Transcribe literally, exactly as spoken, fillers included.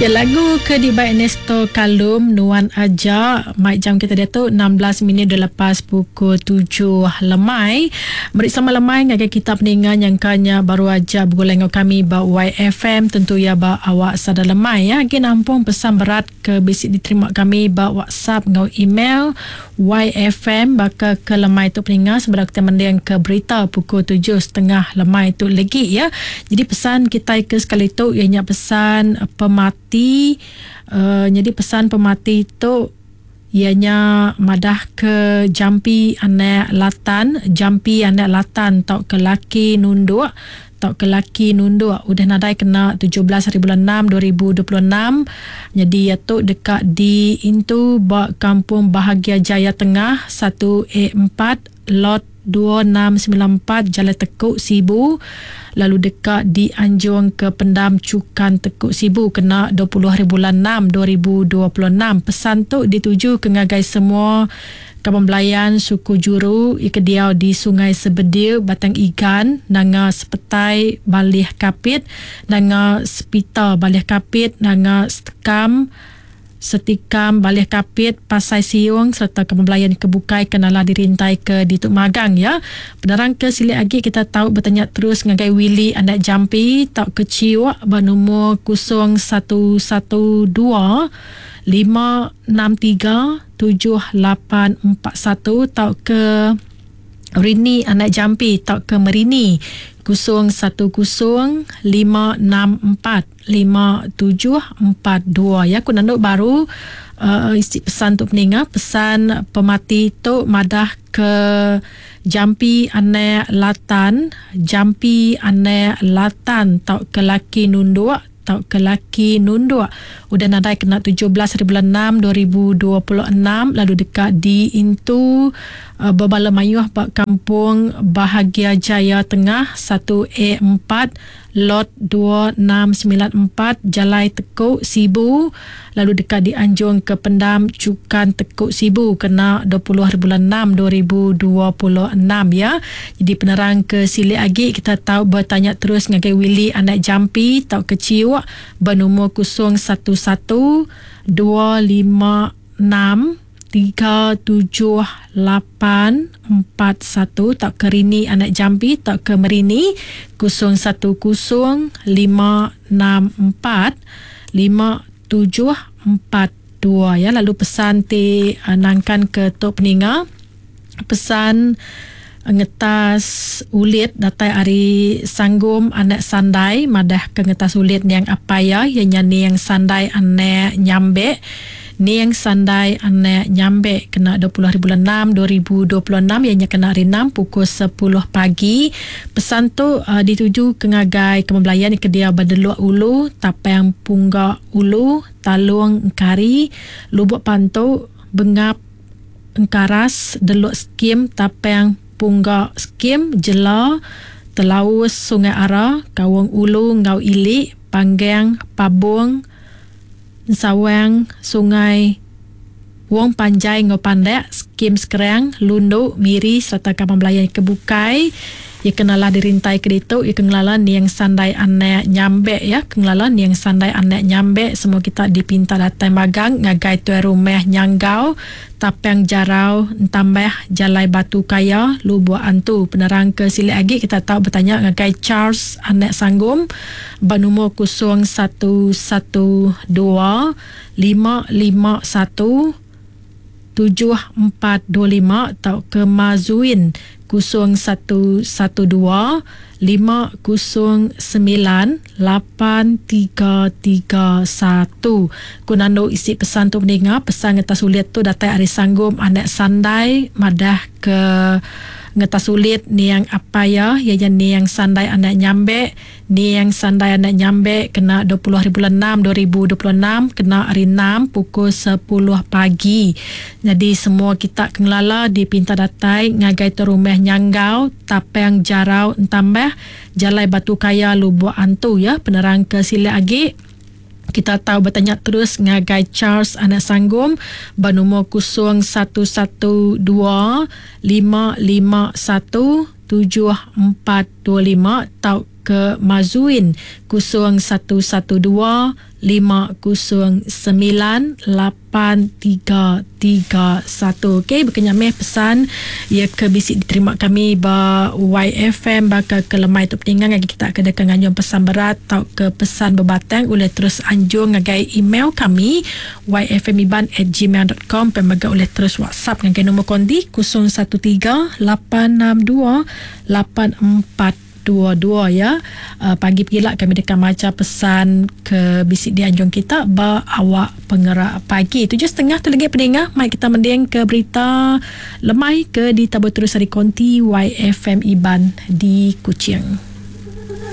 Ya, lagu ke dibai Ernesto Kalum Nuan Aja. Mai jam kita diatu enam belas minit dah lepas pukul tujuh lemai. Meri selamat lemai ngagai kita peninga nyangkanya baru aja begulai dengan kami ba Y F M, tentu ya ba awak sada lemai ya. Agi nampung pesan berat ke bisi diterima kami ba WhatsApp ngau email Y F M baka ke lemai tu peninga sebedau kita mending ke berita pukul tujuh setengah lemai tu lagi ya. Jadi pesan kita ke sekali tu ianya pesan pemati. Uh, jadi pesan pemati tu ianya madah ke jampi anak latan, jampi anak latan tau ke laki nunduk, tau ke laki nunduk udah nadai kena tujuh belas hari bulan enam dua ribu dua puluh enam. Jadi ia tu dekat di Intu ba Kampung Bahagia Jaya Tengah satu A empat lot dua enam sembilan empat Jalan Tekuk Sibu, lalu dekat di Anjung ke Pendam Cukan Tekuk Sibu kena dua puluh hari bulan enam dua ribu dua puluh enam. Pesan tu dituju ke ngagai semua kaban belayan suku juru ikediau di Sungai Sebedil, Batang Igan, Nanga Sepetai Balih Kapit, Nanga Sepita Balih Kapit, Nanga Setekam Setikam Balih Kapit, Pasai Siung serta kaban belayan kebukai kenala dirintai ke Dituk Magang ya. Penerang ke silik lagi kita tahu bertanya terus ngagai Willy anak Jampi tau ke Ciwak bernomor kosong satu satu dua lima enam tiga tujuh lapan empat satu tau ke Rini anak Jampi tau ke Merini kosong satu kosong lima enam empat lima tujuh empat dua ya. Aku nanduk baru uh, isi pesan tu peninga. Pesan pemati tu madah ke Jampi anak latan, Jampi anak latan tau ke laki nunduk, tau ke laki nunduk udah nadai kena tujuh belas hari bulan enam dua ribu dua puluh enam, lalu dekat di Intu uh, Bebala Mayuh bak Kampung Bahagia Jaya Tengah satu A empat lot dua enam sembilan empat Jalai Tekuk Sibu, lalu dekat di Anjung ke Pendam Cukan Tekuk Sibu kena dua puluh hari bulan enam dua ribu dua puluh enam ya. Jadi penerang ke silik lagi kita tahu bertanya terus ngagai Willy anak Jampi tau ke Ciwak bernomor kosong satu satu dua lima enam tiga tujuh lapan empat satu tak ke Rini anak Jampi tak ke Merini kosong satu kosong lima enam empat lima tujuh empat dua ya. Lalu pesan ti uh, nangkan ke tok peninga, pesan ngetas ulit datai ari Sanggum anak Sandai madah ke ngetas ulit niang apaya ya niang Sandai anak Nyambek, niang Sandai anak Nyambek kena dua puluh hari bulan enam dua ribu dua puluh enam ianya kena hari enam pukul sepuluh pagi. Pesan tu uh, dituju ke ngagai kemebelayan ke dia Badeluk Ulu, Tapang Punggak Ulu, Talung Engkari, Lubuk Pantu, Bengap Engkaras, Deluk Skim, Tapang Punggak Skim, Jela, Telaus, Sungai Ara, Kawang Ulu, Ngau Ilik, Panggang, Pabung, Sawang, Sungai Wong Panjai, Ngau Pandek, Skim Sekerang, Lunduk, Miri serta kaban belayan kebukai. Ia kenalah dirintai ke ditu, ia kengelala niang Sandai anak Nyambek ya, kengelala niang Sandai anak Nyambek. Semua kita dipinta datang magang ngagai tuan rumah Nyanggau, Tapang Jarau, Entambah, Jalai Batu Kaya, Lubuk Antu. Penerang ke silik lagi kita tahu bertanya ngagai Charles anak Sanggum bernomor kosong satu satu dua lima lima satu tujuh empat dua lima atau ke Mazuin kosong satu satu dua lima kosong sembilan lapan tiga tiga satu. Kunando isi pesan tu mendengar pesan ngetas sulit tu datai ari Sanggum anak Sandai madah ke ngetas sulit niang apaya ianya niang Sandai anak Nyambek, niang Sandai anak Nyambek kena dua puluh hari bulan enam dua ribu dua puluh enam kena hari enam pukul sepuluh pagi. Jadi semua kita kengelala dipinta datai ngagai tu rumah Nyanggau, Tapang Jarau, Entambah, Jalai Batu Kaya, Lubuk Antu ya. Penerang ke silik lagi kita tahu bertanya terus ngagai Charles anak Sanggum bernomor kosong satu satu dua lima lima satu tujuh empat dua lima tau ke Mazuin kosong satu satu dua lima kosong sembilan lapan tiga tiga satu. Okey, berkenyameh pesan ia ke bisi diterima kami ba Y F M baka ke lemai tu peninggang lagi kita ke dekat nganjung pesan berat atau ke pesan berbatang oleh terus anjung ngagai email kami y f m iban at gmail dot com, pemaga oleh terus WhatsApp ngagai nombor kondi kosong satu tiga lapan enam dua lapan empat dua dua ya. Uh, pagi pegila kami dekat maca pesan ke bisik di anjung kita ba awak pengerak pagi. Tujuh setengah tu lagi pendengar, mai kita mending ke berita lemai ke di Tabur Terus Hari Konti Y F M Iban di Kuching.